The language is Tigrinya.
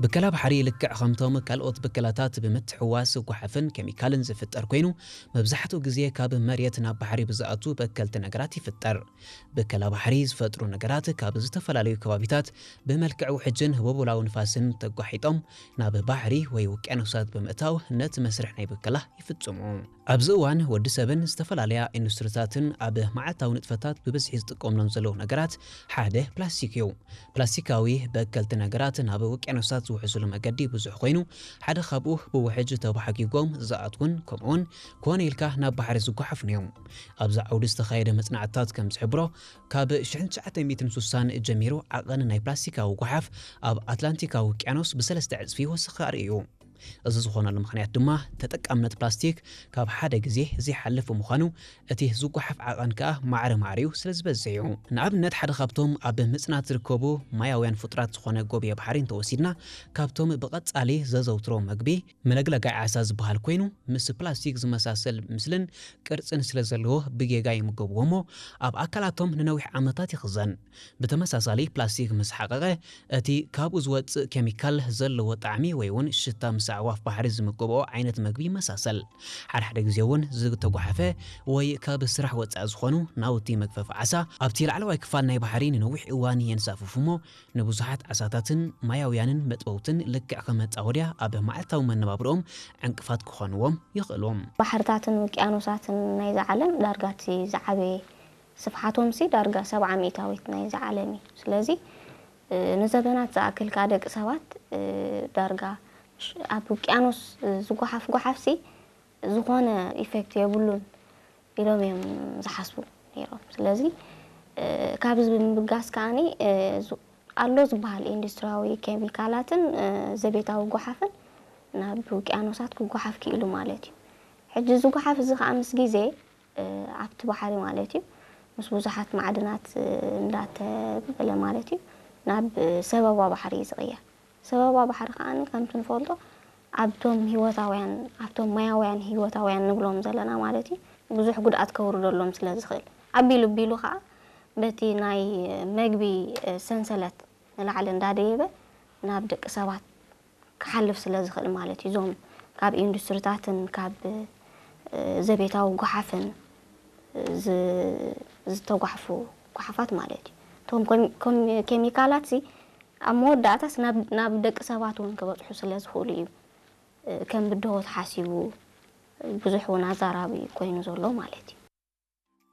ብከላ ባሕሪ ልክዕ ከምቶም ካልኦት ብከላታት ብምትሕዋስ ጓሓፍን ኬሚካልን ዝፍጠር ኮይኑ፣ መብዛሕትኡ ግዜ ካብ መሬት ናብ ባሕሪ ብዝኣቱ በከልቲ ነገራት ይፍጠር። ብከላ ባሕሪ ዝፈጥሩ ነገራት ካብ ዝተፈላለዩ ከባቢታት ብመልክዕ ውሕጅን ህቦቦላዊ ንፋስን ተጓሒጦም ናብ ባሕሪ ወይ ውቅያኖሳት ብምእታው ነቲ መስርሕ ናይ ብከላ ይፍጽሙ። ኣብዚ እዋን ወዲ ሰብን ዝተፈላለያ ኢንዱስትሪታትን ኣብ መዓልታዊ ንጥፈታት ብብዝሒ ዝጥቀምሎም ዘለዉ ነገራት ሓደ ፕላስቲክ እዩ። ፕላስቲካዊ በከልቲ ነገራት ናብ ውቅያኖሳት ዝውሕዝሉ መገዲ ብዙሕ ኮይኑ፣ ሓደ ካብኡ ብውሕጅ ተባሓጊጎም ዝኣትውን ከምኡውን ኮነ ኢልካ ናብ ባሕሪ ዝጓሓፉን እዮም። ኣብዚ ዓውዲ ዝተኻየደ መጽናዕትታት ከም ዝሕብሮ፣ ካብ ሽሕን ትሽዓተ ሚእትን ስሳን ጀሚሩ ዓቐን ናይ ፕላስቲካዊ ጓሓፍ ኣብ ኣትላንቲካዊ ውቅያኖስ ብሰለስተ ዕጽፊ ወሰኸ ኣርእዩ። እዚ ዝኾነሉ ምኽንያት ድማ ተጠቃምነት ፕላስቲክ ካብ ሓደ ግዜ ዘይሓልፍ ብምዃኑ፣ እቲ ዝጓሓፍ ዓቐን ከኣ ማዕረ ማዕሪኡ ስለ ዝበዝሕ እዩ። ንኣብነት፣ ሓደ ካብቶም ኣብ ምጽናት ዝርከቡ ማያውያን ፍጡራት ዝኾነ ጎብየ ባሕሪ እንተወሲድና፣ ካብቶም ብቐጻሊ ዘዘውትሮ መግቢ፣ መለግለጋይ ዓሳ ዝበሃል ኮይኑ፣ ምስ ፕላስቲክ ዝመሳሰል ምስልን ቅርጽን ስለ ዘለዎ ብጌጋ ይምገብዎ እሞ፣ ኣብ ኣካላቶም ንነዊሕ ዓመታት ይኽዘን። ብተመሳሳሊ፣ ፕላስቲክ ምስ ሓቐቐ፣ እቲ ካብኡ ዝወጽእ ኬሚካል ዘለዎ ጣዕሚ ወይ እውን ሽታ ምስ ኣዕዋፍ ባሕሪ ዝምገብኦ ዓይነት መግቢ ይመሳሰል። ሓድሓደ ግዜ እውን ዝተጓሓፈ ወይ ካብ ስራሕ ወጻኢ ዝኾኑ ናውቲ መግፈፊ ዓሳ ኣብቲ ላዕለዋይ ክፋል ናይ ባሕሪ ንነዊሕ እዋን የንሳፍፉ እሞ፣ ንብዙሓት ዓሳታትን ማያውያንን መጥበውትን ልክዕ ከም መጻወድያ ኣብ መዓልታዊ መነባብሮኦም ዕንቅፋት ክኾንዎም ይኽእሉ። ባሕርታትን ውቅያኖሳትን ናይዛ ዓለም ዳርጋ እቲ ዝዓበየ ስፍሓቶምሲ ዳርጋ ሰብዓ ሚእታዊት ናይዛ ዓለም እዩ። ስለዚ፣ እ፣ ንዘበናት ዝኣክል ከኣ ደቂ ሰባት፣ እ፣ ዳርጋ ሽ-፣ ኣብ ውቅያኖስ ዝጓሓፍ ጓሓፍሲ ዝኾነ ኢፌክት የብሉን ኢሎም እዮም ዝሓስቡ ነይሮም። ስለዚ፣ እ፣ ካብዚ ብምብጋስ ከኣኒ፣ እ፣ ዙ-፣ ኣሎ ዝበሃል ኢንዱስትሪያዊ ኬሚካላትን፣ እ፣ ዘቤታዊ ጓሓፍን ናብ ውቅያኖሳት ክጓሓፍ ክኢሉ ማለት እዩ። ሕጂ እዚ ጓሓፍ እዚ ከኣ ምስ ግዜ፣ እ፣ ኣብቲ ባሕሪ ማለት እዩ፣ ምስ ብዙሓት ማዕድናት፣ እ፣ እንዳተበለ ማለት እዩ፣ ናብ፣ እ፣ ሰበባ ባሕሪ እዩ ዝቕየር። ሰበባ ባሕሪ ከኣ ከምቲ ንፈልጦ ኣብቶም ህይወታውያን፣ ኣብቶም ማያውያን ህይወታውያን ንብሎም ዘለና ማለት እዩ፣ ብዙሕ ጉድኣት ከውርደሎም ስለ ዝኽእል፣ ኣቢሉ ኣቢሉ ከኣ በቲ ናይ መግቢ፣ እ፣ ሰንሰለት ንላዕሊ እንዳደየበ ናብ ደቂ ሰባት ክሓልፍ ስለ ዝኽእል ማለት እዩ። እዞም ካብ ኢንዱስትሪታትን ካብ፣ እ፣ ዘቤታዊ ጓሓፍን፣ እ፣ ዝ-፣ ዝተጓሕፉ ጓሓፋት ማለት እዩ። እቶም ኮም-፣ ኮም-፣ ኬሚካላት ሲ ኣብ መወዳእታስ ናብ፣ ናብ ደቂ ሰባት እውን ክበጽሑ ስለ ዝኽእሉ እዩ፣ እ፣ ከም ብድሆ ተሓሲቡ ብዙሕ እውን ኣዛራቢ ኮይኑ ዘሎ ማለት እዩ።